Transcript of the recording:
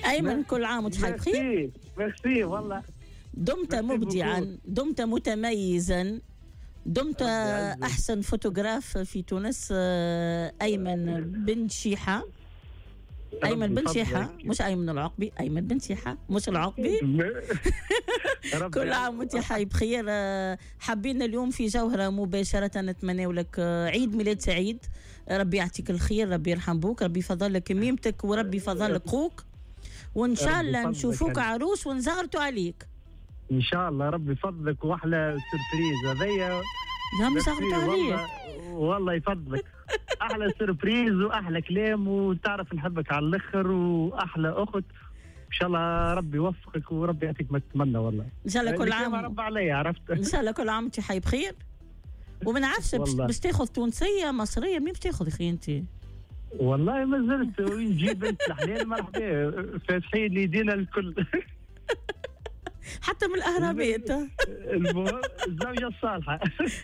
ايمن، كل عام وانت حي بخير. merci merci والله. دمت مبدعا، دمت متميزا، دمت احسن فوتوغراف في تونس. ايمن بن شيحه، ايمن بن شيحه، مش ايمن العقبي، ايمن بن شيحه مش العقبي. كل عام وانت حي بخير. حبينا اليوم في جوهره مباشرة نتمنى لك عيد ميلاد سعيد، ربي يعطيك الخير، ربي يرحم بوك، ربي يفضل لك ميمتك وربي يفضل لك خوك، وان شاء الله نشوفوك عروس ونزغرتوا عليك. ان شاء الله، ربي يفضلك، واحلى surprise هذيا. لا، نزغرتوا عليك. والله يفضلك، احلى surprise واحلى كلام، وتعرف نحبك على الاخر واحلى اخت. ان شاء الله ربي يوفقك وربي يعطيك ما تتمنى والله. ان شاء الله كل عام رب عليا، عرفت. ان شاء الله كل عام وانت حي بخير. وما نعرفش باش تاخذ تونسيه، مصريه، مين باش تاخذ اخي انت؟ والله ما زلت، وين تجيب بنت الحلال مرحبا، فاتحين يدينا الكل. حتى من الاهرامات. المهم الزوجة الصالحه.